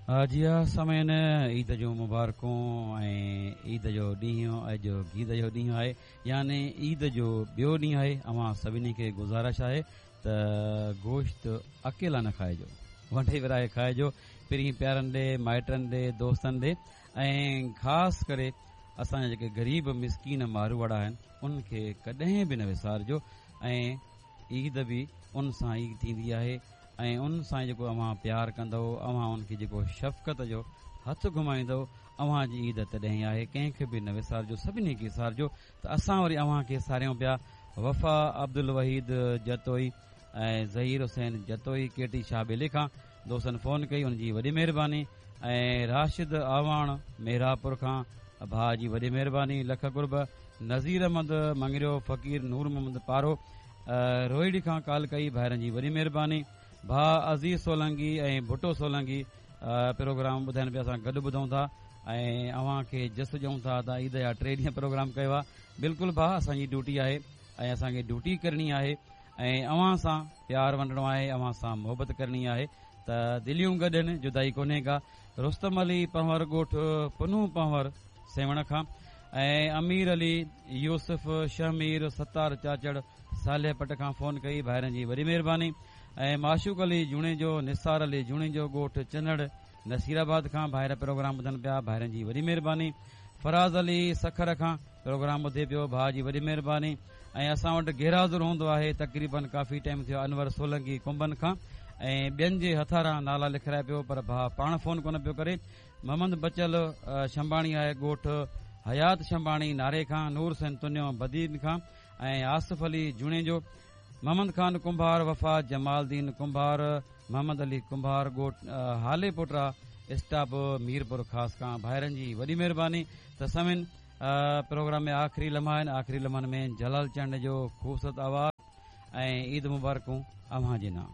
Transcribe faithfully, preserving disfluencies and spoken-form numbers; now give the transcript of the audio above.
जी हा सामीन, ईद जूं मुबारकूं ऐं ईद जो ॾींहुं अॼु ईद जो ॾींहुं आहे, यानी ईद जो ॿियो ॾींहुं आहे। अव्हां सभिनी खे गुज़ारिश आहे त गोश्त अकेला न खाइजो, वंडे विराए खाइजो, पहिरीं प्यारनि ॾे, माइटनि ॾे, दोस्तनि ॾे ऐं ख़ासि करे असांजा जेके ग़रीब मिसकीन मारूवाड़ा आहिनि उन्हनि खे कॾहिं बि न विसारिजो। ऐं ईद बि उन सां ई थींदी आहे ऐं उन सां जेको अव्हां प्यार कंदव, अव्हां उनखे जेको शफ़क़त जो हथु घुमाईंदव, अव्हां जी ईद तॾहिं आहे। कंहिंखे बि न विसारिजो, सभिनी खे विसारिजो। त असां वरी अव्हां खे सारियूं पिया वफ़ा अब्दुल वहीद जतोई ऐं ज़हीर हुसैन जतोई केटी शाह बेले खां दोस्तनि फ़ोन कई, उनजी वॾी महिरबानी। ऐं राशिद आवाण मेहरापुर खां भाउ जी वॾी महिरबानी, लख कुर्ब। नज़ीर अहमद मंगरियो, फ़क़ीर नूर मोहम्मद पारो रोहिड़ी खां कॉल कई, भाइरनि जी वॾी महिरबानी। भाउ अज़ीज़ सोलंगी ऐं भुटो सोलंगी प्रोग्राम ॿुधाइनि पिया, असां गॾु ॿुधूं था ऐं अव्हां खे जस ॾियूं था त ईद जा टे ॾींहं प्रोग्राम कयो आहे। बिल्कुलु भाउ, असांजी ड्यूटी आहे ऐं असांखे ड्यूटी करणी आहे ऐं अव्हां सां प्यार वंडणो आहे, अव्हां सां मोहबत करणी आहे। त दिलियूं गॾु आहिनि, जुदाई कोन्हे का। रुस्तम अली पंवर ॻोठ पनू पंवर सेवण खां ऐं अमीर अली यूसुफ शहमीर सत्तार चाचड़ सालिह पट खां फ़ोन कई, भाइरनि जी वॾी महिरबानी। ऐं माशूक अली जुणेजो, निसार अली जुणेजो ॻोठ चनड़ नसीराबाद खां भाइर प्रोग्राम ॿुधनि पिया, भाइरनि जी वॾी महिरबानी। फराज़ अली सखर खां प्रोग्राम ॿुधे पियो, भाउ जी वॾी महिरबानी। ऐं असां वटि गैराज़ुर हूंदो आहे तक़रीबन काफ़ी टाइम थियो, अनवर सोलंगी कुंभनि खां ऐं ॿियनि जे हथारां नाला लिखाराए पियो, पर भाउ पाण फ़ोन कोन पियो करे। मोहम्मद बचल शंबाणी आहे ॻोठ हयात शंबाणी नारे खां, नूर हुसैन तुनियो बदीन खां ऐं आसिफ़ अली जुणेजो, मोहम्मद खान कुंभार, वफ़ा जमालदीन कुंभार, मोहम्मद अली कुंभार ॻोठ हाले पोटरा स्टाप मीरपुर ख़ासि खां। भाइरनि जी वॾी महिरबानी। त समिन प्रोग्राम में आख़िरी लम्हा आहिनि, आख़िरी लम्हनि में जलाल चंड जो ख़ूबसूरत आवाज़ ऐं ईद मुबारकूं अव्हां जे नाम।